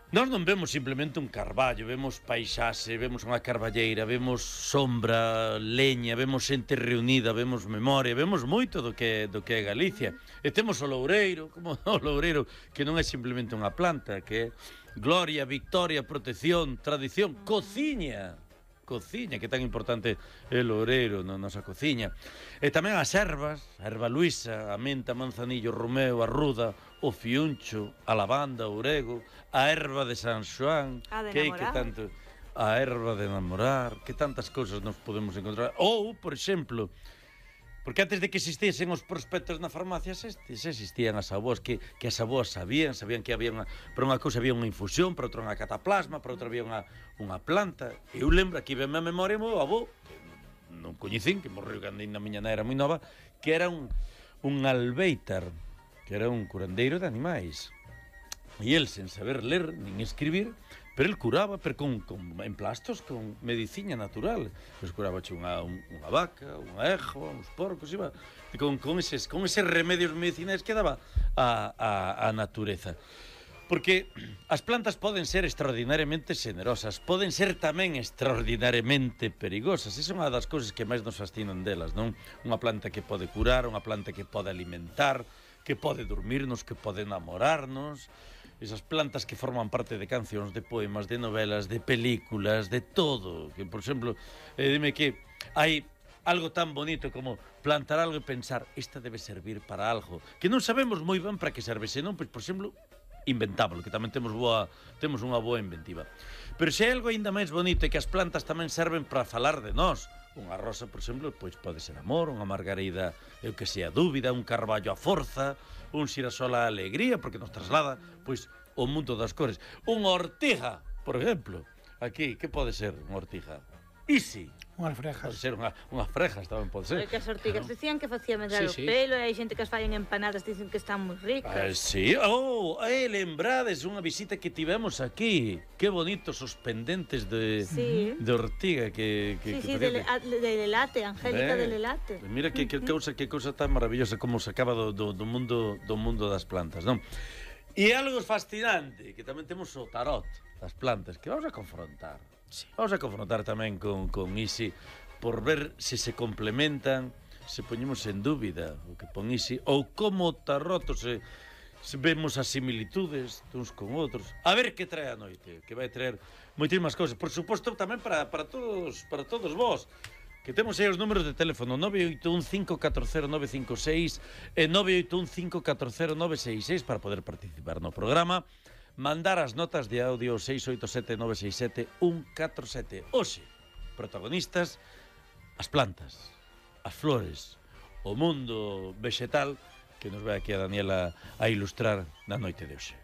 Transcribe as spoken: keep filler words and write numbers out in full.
Nós non vemos simplemente un carballo, vemos paisaxe, vemos unha carballeira, vemos sombra, leña, vemos xente reunida, vemos memoria, vemos moito do que, do que é Galicia. E temos o loureiro, como o loureiro, que non é simplemente unha planta, que é gloria, victoria, protección, tradición, cociña. Cociña, que tan importante é o loureiro na nosa cociña. E tamén as ervas, a erva luisa, a menta, manzanillo, romeo, a ruda, o fiuncho, a lavanda, o orego, a erva de San Xoán, que, que tanto, a erva de enamorar, que tantas cousas nos podemos encontrar. Ou, por exemplo, porque antes de que existisen os prospectos na farmacia, existían as aboas, que, que as aboas sabían, sabían que había unha, para unha cousa había unha infusión, para outra unha cataplasma, para outra había unha, unha planta. Eu lembro, aquí ven a memoria, o meu avó, que non coñecín, que morreu cando na miña nai era moi nova, que era un, un albeitar, que era un curandeiro de animais. E el, sen saber ler nin escribir, pero el curaba, pero con, con emplastos, con medicina natural. Pois curaba unha, un, unha vaca, unha ejo, uns porcos, iba, con, con, eses, con eses remedios medicinais que daba a, a, a natureza. Porque as plantas poden ser extraordinariamente generosas, poden ser tamén extraordinariamente perigosas. Esa é unha das cousas que máis nos fascinan delas, non? Unha planta que pode curar, unha planta que pode alimentar, que pode dormirnos, que pode enamorarnos. Esas plantas que forman parte de cancións, de poemas, de novelas, de películas, de todo. Que, por exemplo, eh, dime que hai algo tan bonito como plantar algo e pensar esta debe servir para algo, que non sabemos moi ben para que serve, senón, pois, por exemplo, inventábolo, que tamén temos boa, temos unha boa inventiva. Pero se hai algo ainda máis bonito é que as plantas tamén serven para falar de nós. Unha rosa, por exemplo, pois pode ser amor, unha margarida, eu que sei, a dúbida, un carballo a forza, un xirasol a alegría, porque nos traslada, pois, o mundo das cores. Unha ortiga, por exemplo, aquí, que pode ser unha ortiga? Isi. Unhas frejas. Pode ser unha, unhas frejas, tamén pode ser. É que as ortigas decían que facía medrar Sí, o sí. pelo, e hai xente que as fai en empanadas, dicen que están moi ricas. Ah, sí, oh, eh, lembrades unha visita que tivemos aquí. Que bonitos os pendentes de, Sí. de ortiga que, que, Sí, que sí, de, le, a- de Lelate, Angélica Eh, de Lelate. Mira que, que cousa, que cousa tan maravillosa como se acaba do, do, do mundo do mundo das plantas, non? E algo fascinante, que tamén temos o tarot das plantas, que vamos a confrontar. Sí. Vamos a confrontar tamén con, con Isi por ver se se complementan, se poñemos en dúbida o que pon Isi, ou como o tarot se, se vemos as similitudes uns con outros. A ver que trae a noite, que vai traer moitísimas cousas. Por suposto, tamén para, para, todos, para todos vós, que temos aí os números de teléfono nove oito un cinco catro cero nove cinco seis e nove oito un cinco catro cero nove seis seis para poder participar no programa, mandar as notas de audio seis oito sete nove seis sete un catro sete. Hoxe, protagonistas, as plantas, as flores, o mundo vegetal, que nos vai aquí a Daniela a ilustrar na noite de hoxe.